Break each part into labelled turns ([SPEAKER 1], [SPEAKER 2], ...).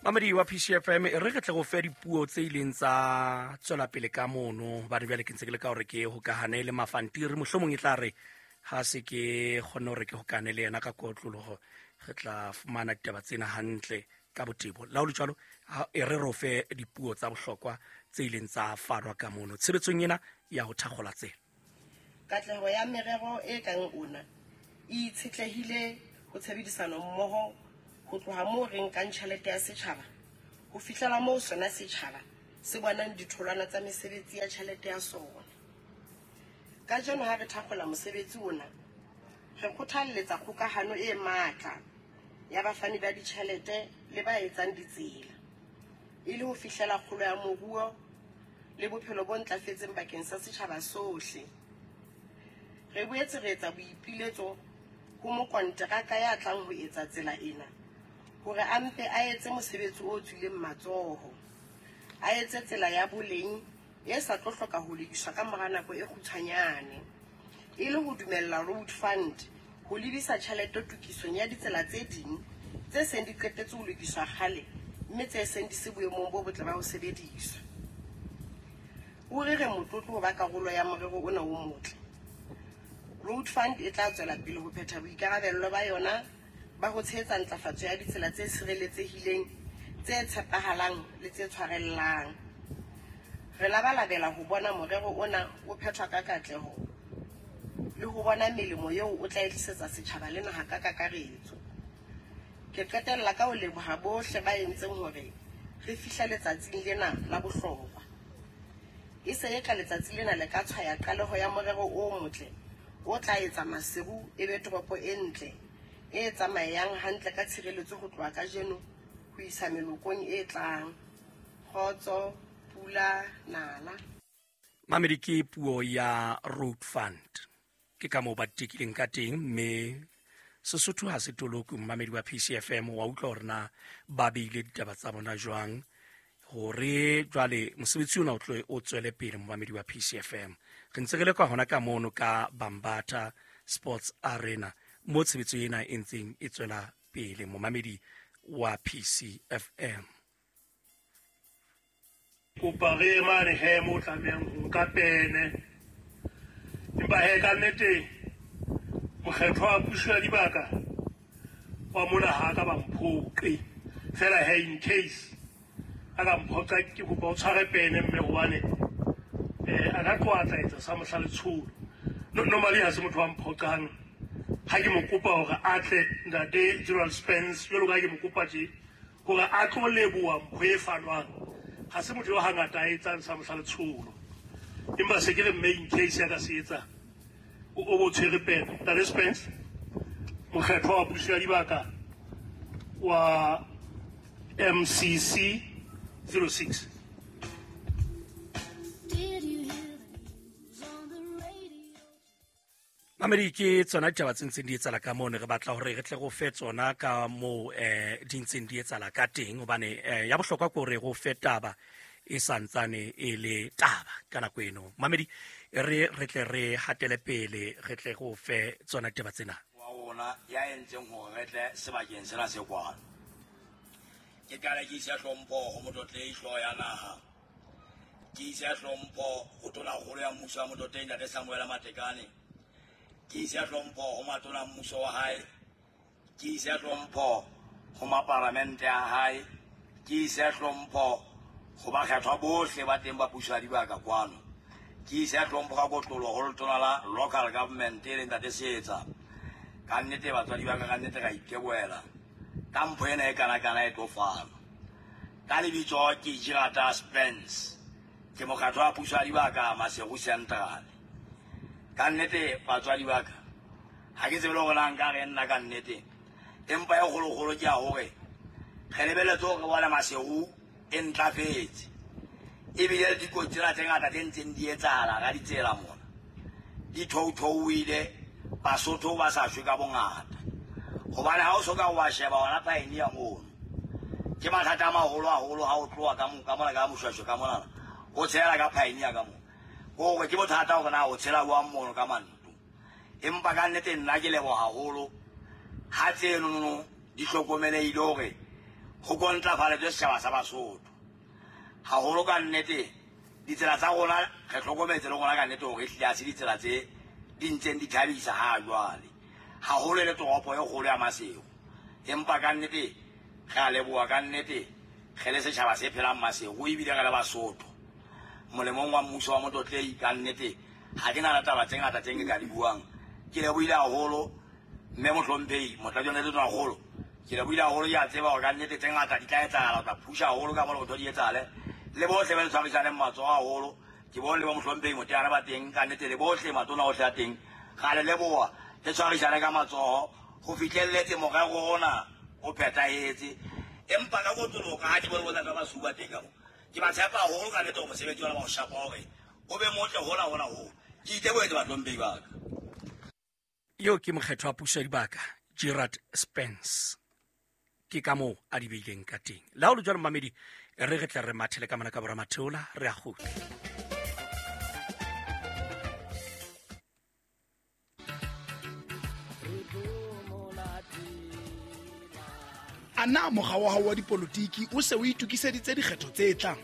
[SPEAKER 1] Mamedi wa PCFM, e re re tle go fe dipuo tse ileng tsa tswela pele ka mono, hobane jwale ke ntse ke le ka hore ke hokahane le Mafantiri. Mohlomong e tla re ha se ke kgonne hore ke hokane le yena ka kotloloho, re tla fumana ditaba tsena hantle ka botebo. La ho le jwalo, e re re o fe dipuo tsa bohlokwa tse ileng tsa fanwa ka mono tshebetsong ena ya ho thakgola tsela.
[SPEAKER 2] Katleho ya merero e kang ona e itshetlehile ho tshebedisano mmoho ho tloha moo re nkang tjhelete ya setjhaba ho fihlela moo sona setjhaba se bonang ditholwana tsa mesebetsi ya tjhelete ya sona. Kajeno ha re thakgola mosebetsi ona, re kgothalletsa kgokahano e matla ya bafani ba ditjhelete le ba etsang ditsela, e le ho fihlela kgolo ya moruo le bophelo bo ntlafetseng bakeng sa setjhaba sohle. Re boetse re etsa boipiletso ho mokonteraka ya tlang ho etsa tsela ena hore a mpe a etse mosebetsi o tswileng matsoho, a etse tsela ya boleng e sa tlo hloka ho lokiswa ka mora nako e kgutshwanyane, e le ho dumella Road Fund ho lebisa tjhelete tokisong ya ditsela tse ding tse seng di qetetse ho lokiswa kgale mme tse seng di se boemong bo botle ba ho sebediswa. Ruri re motlotlo ho ba karolo ya morero ona o motle. Road Fund e tla tswela pele ho phetha boikarabello ba yona ba ho tshehetsa ntlafatso ya ditsela tse sireletsehileng, tse tshepahalang le tse tshwarellang. Re labalabela ho bona morero ona o phethwa ka katleho le ho bona melemo eo o tla e tlisetsa setjhaba le naha ka kakaretso. Ke qetella ka ho leboha bohle ba entseng hore re fihle letsatsing lena la bohlokwa. E se eka letsatsi lena le ka tshwaya qaleho ya morero o motle o tla etsa Maseru e be toropo e ntle, e tsamaeang hantle ka tshireletso ho tloha kajeno ho isa melokong e tlang. Kgotso, pula, nala.
[SPEAKER 1] Mamedi, ke puo ya Road Fund, ke ka moo ba tekileng ka teng, mme Sesotho ha se toloki. Mmamedi wa PCFM, wa utlwa hore na ba beile ditaba tsa bona jwang hore jwale mosebetsi ona o tlo o tswele pele. Momamedi wa PCFM, re ntse re le ka hona ka mono ka Bambata Sports Arena mo tshebetso ena e ntseng e tswela pele. Momamedi wa PCFM,
[SPEAKER 3] Kopa re ye mane he mo tlamehang ho nka pene, empa he ka nnete mokgetho wa puso ya dibaka wa mona ha ka ba mphoqe fela. He in case a ka mphoqa, ke kopa o tshware pene, mme hobane a ka tloha tla etsa sa mohla letsholo. Normally ha se motho wa mphoqang ha ke mo kopa hore a tle. Ntate General Spence, jwalo ka ha ke mo kopa tje hore a tlo leboha mpho e fanwang, ha se motho yo hangata a etsang sa mohla letsholo, empa se ke re mme in case ya ka se etsa, o bo tshwere pene. Ntate Spence, mokgethwa wa puso ya dibaka wa MCC 06.
[SPEAKER 1] Mamedi, ke tsona ditaba tse ntseng di etsala ka moo ne re batla hore re tle go fe tsona ka moo di ntseng di etsala ka teng, hobane ya bohlokwa ke hore go fe taba e santsane e le taba ka nako eno. Mamedi, re re tle re hatele pele, re tle go fe tsona ditaba tsena.
[SPEAKER 4] Wa rona ya entseng hore re tle sebakeng sena se kwano, ke qale ke ise hlompho ho Motlotlehi hlooho ya naha, ke ise hlompho ho tonakgolo ya mmuso wa Motlotlehi Ntate Samuel Matekane, ke ise hlompho ho matona mmuso wa hae, ke ise hlompho ho maparamente a hae, ke ise hlompho ho bakgethwa bohle ba teng ba puso ya dibaka kwano, ke ise hlompho ka kotlolo ho letona la local government e leng Ntate Seetsa. Ka nnete batswadi ba ka, ka nnete ra itebohela ka mpho ena e kana-kana e tlo fanwa. Ka lebitso ke Jirata Spence, ke mokgatlo wa puso ya dibaka Maseru Central. Ka nnete batswadi ba ka, ha ke tsebe le hore na nka re nna ka nnete, empa e kgolokgolo ke ya hore re lebeletse hore bone Maseru e ntlafetse, ebile le dikotsi tsena tse ngata tse ntseng di etsahala ka ditsela mona di thouthouile, Basotho ba sa shwe ka bongata, hobane ha o so ka wa sheba hona Pioneer mono, ke mathata a maholo haholo ha o tloha ka mona ka Moshweshwe ka monana o tshela ka Pioneer ka mona, hore ke bothata hore na o tshela jwang mono ka manto. Empa ka nnete nna ke leboha haholo ha tsenono di hlokomelehile hore Go kontlafaletswe setšhaba sa Basotho haholo ka nnete. Ditsela tsa rona re hlokometse le rona ka nnete hore ehlile ha se ditsela tse di ntseng di thabisa ha jwale, haholo e le toropo e kgolo ya Maseru. Empa ka nnete re a leboha ka nnete re le setjhaba se phelang Maseru ebile re le Basotho molemong wa mmuso wa Motlotlei. Ka nnete ha ke na le taba tse ngata tse nke ka di buang. Ke lebohile haholo mme mohlomphehi motlatsi le tonakgolo, ke lebohile haholo. Ke a tseba hore ka nnete tse ngata di tla etsahala, o tla phusha haholo ka mona ntho di etsahale le bohle ba le tshwarisaneng matsoho haholo. Ke bone le ba mohlomphehi Moteana ba teng ka nnete, le bohle matona ohle a teng, ra le leboha. Le tshwarisane ka matsoho ho fihlelletse morero ona o phethahetse. Empa ka kotloloho ka ha ke bone bontate ba basuba teng ka mo, ke ba tshepa haholo ka nnete hore mosebetsi ona ba o shapa hore o be motle hona hona hoo. Ke itebohetse, bahlomphehi ba ka.
[SPEAKER 1] Eo ke mokgetho wa puso ya dibaka Gerard Spence, ke ka moo a di beileng ka teng. Le ha o le jwalo, mamedi, re re tle re mathele ka mona ka bora matheola, re a kgutla.
[SPEAKER 5] A na mokga wa hao wa dipolotiki o se o itokiseditse dikgetho tse tlang?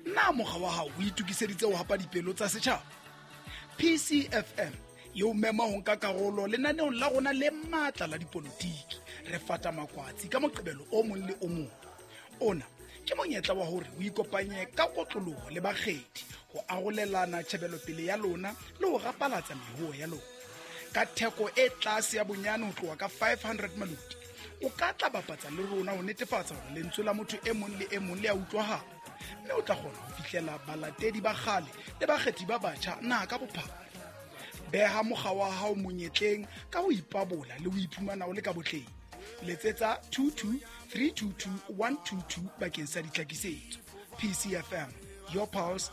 [SPEAKER 5] Na mokga wa hao o itokiseditse ho hapa dipelo tsa setjhaba? PCFM e o mema ho nka karolo lenaneong la rona le matla la dipolotiki, Re Fata Makwatsi, ka Moqebelo o mong le o mong. Ona ke monyetla wa hore o ikopanye ka kotloloho le bakgethi ho arolelana tjhebelopele ya lona le ho rapalatsa mehoho ya lona. Ka theko e tlase ya bonyane ho tloha ka 500 maloti, o ka tla bapatsa le rona ho netefatsa hore lentswe la motho e mong le e mong le a utlwahala, mme o tla kgona ho fihlela balatedi ba kgale le bakgethi ba batjha naha ka bophara. Beha mokga wa hao monyetleng ka ho ipabola le ho iphumana o le ka botleng. Letsetsa 22 322 122 bakeng sa ditlhakisetso. PCFM, your pulse.